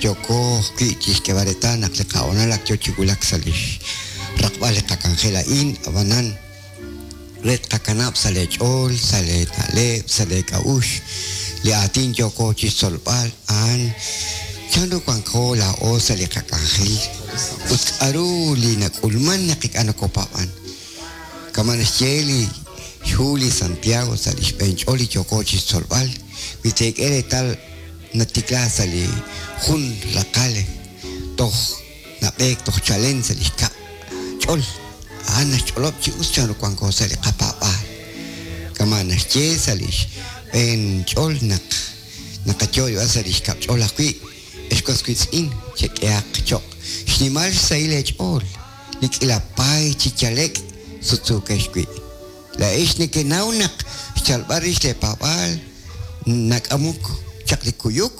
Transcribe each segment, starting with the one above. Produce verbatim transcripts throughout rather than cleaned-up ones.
Yooko ajwi' chixk'eeb'al reetal naq li qahonal ak yoo chi wulak sa' lix raqb'al li qak'anjel a'in, ab'anan re tqakanab' sa' lee ch'ool, sa' lee na'leb', sa' lee k'a'uxl, li aatin yooko chixtzolb'al a'an chanru wanko laa'o sa' li qak'anjel ut k'a'ru li nak'ulman naq ink'a' nokopaab'an. Kama' naxye li xhu li Santiago sa' li xb'een ch'ool li yooko chixtzolb'al, wi teek'e reetal natikla sa' li jun raqal toj nab'eek toj chalen sa' li xkab' ch'ol, a'an naxch'olob' chi us chanru wanko sa' li qapaab'aal. Kama' naxye sa' li xb'een ch'ol naq naqayo' sa' li xkab' ch'ol ajwi', ex was wiitz'in chek'ehaq choq' xnimal xsahil eech'ool, li k'iila paay chi yalek' sutsuukex wi'. Laa'ex nekenaw naq xchalb'al rix leepaab'aal nak'amok chaq li kuyuk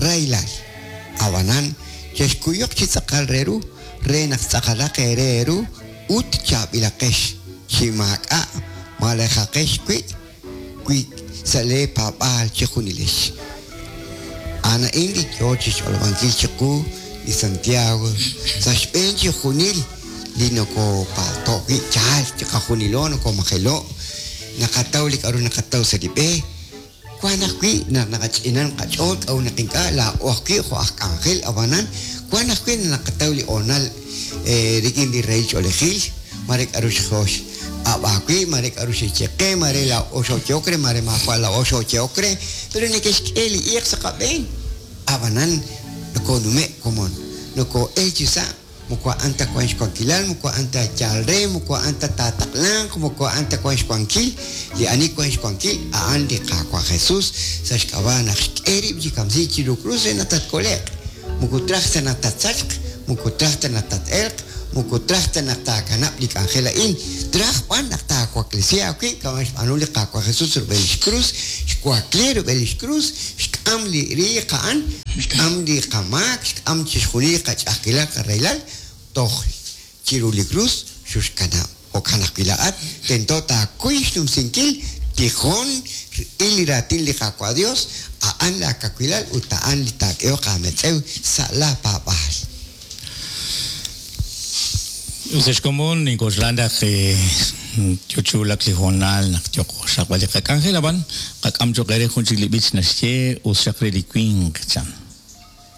rahilal. Ab'anan chexkuyuq chi tz'aqal re ru re naq tz'aqalaq eere eeru ut chaab'ilaqex chi maak'a' malejaqex wi' wi sa' leepaab'aal chi junilex. A'an a'in li yoo chixch'olob'ankil chiqu li Santiago sa' xb'een chi junil li nokopalto' wi' yaal chiqajunilo nokomajelo' naqataw li k'a'ru naqataw sa' li b'e wan ajwi' naq naqach'inan qach'ool k'a'ru naq ink'a' laa'o ajwi' jo' aj k'anjel ab'anan wan ajwi' naq naqataw li hoonal rik'in li rahil ch'oolejil mare k'a'ru xjox ab'aawi' mare k'a'ru xe'xye qe mare laa'o xo'ye'ok re mare maawa' laa'o xo'ye'ok re pero neke'xk'e li iiq sa' qab'een ab'anan nokonume' komon noko'el chi sa' moko a'an ta wan xwankilal moko a'an ta yaal re moko a'an ta taataqlanq moko a'an ta wan xwankil li ani wan xwankil a'an li Qaawa' Jesus sa' xk'ab'a' naq xk'e rib' chi kamsiik chiru krus re naq tatkole'q moko traj ta naq tatsachq moko traj ta naq tat-elq moko traj ta naq taakanab' li k'anjel a'in traj b'an naq taawaklesi aawib' kama' xb'aanu li Qaawa' Jesus rub'el lix krus xwakli rub'el lix krus xk'am li riiq a'an xk'am li qamaak xk'am chixjunil li qach'a'ajkilal qarahilal toj chiru li krus xuxkanab' jo'kan ajwi' laa'at tento taakuy xnumsinkil tijon il li raatin li Qaawa' Dios a'an laakawilal ut a'an li taak'ehoq aametz'ew sa' la paab'aal. Us xkomon nink'oxla naq yo chi wulak li hoonal naq yoqo xraqb'al li qak'anjel ab'an qak'am cho'q eere jun chik li b'ich naxye us xaq re li winq chan.